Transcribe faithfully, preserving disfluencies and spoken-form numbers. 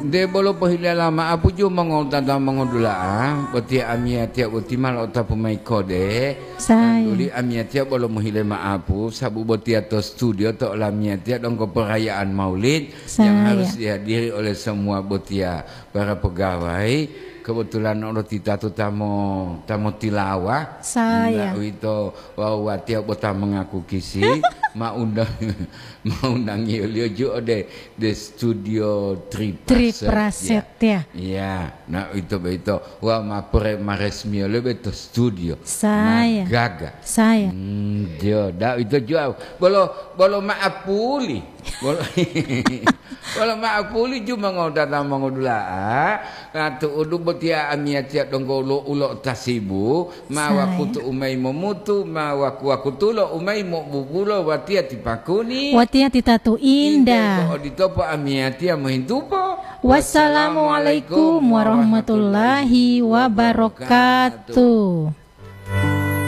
Nde bolo pohilala ma'apu ju mongotata mongodula'a, botiya amiyatiya boti ma lo'otapu mayi kode. Saya. Tanduli amiyatiya bolo mohile ma'apu, sabu botiya to studio to olamiyatiya donggo perayaan Maulid yang Saya. harus dihadiri oleh semua botiya para pegawai. Kebetulan olo titatu tamo, tamo tilawa. Saya. Nda uwito wawu watiya bota mengaku kisi, ma undang, ma undangiyoliyo ju ode de studio Tripraset, Tripraset, ya. ya. Iya, nah, ito boyito. Wah, ma pre-, ma resmiyo lebe to studio. Saya. Ma gaga. Saya. Hmm, jo, da ito jual. Bolo, bolo ma'apuli. Bolo, bolo ma'apuli ju mongodata mongodula'a. Nah, tu'udu botiya amiyatiya donggo ulo, ulo tasibu. Ma Saya. wakutu umai momutu, ma waku-, wakutulo umai mobubulo watiya tipakuni. Watiya titatu Indah. Indah. Oditopo amiyatiya mohintupo. Wassalamualaikum warahmatullahi wabarakatuh.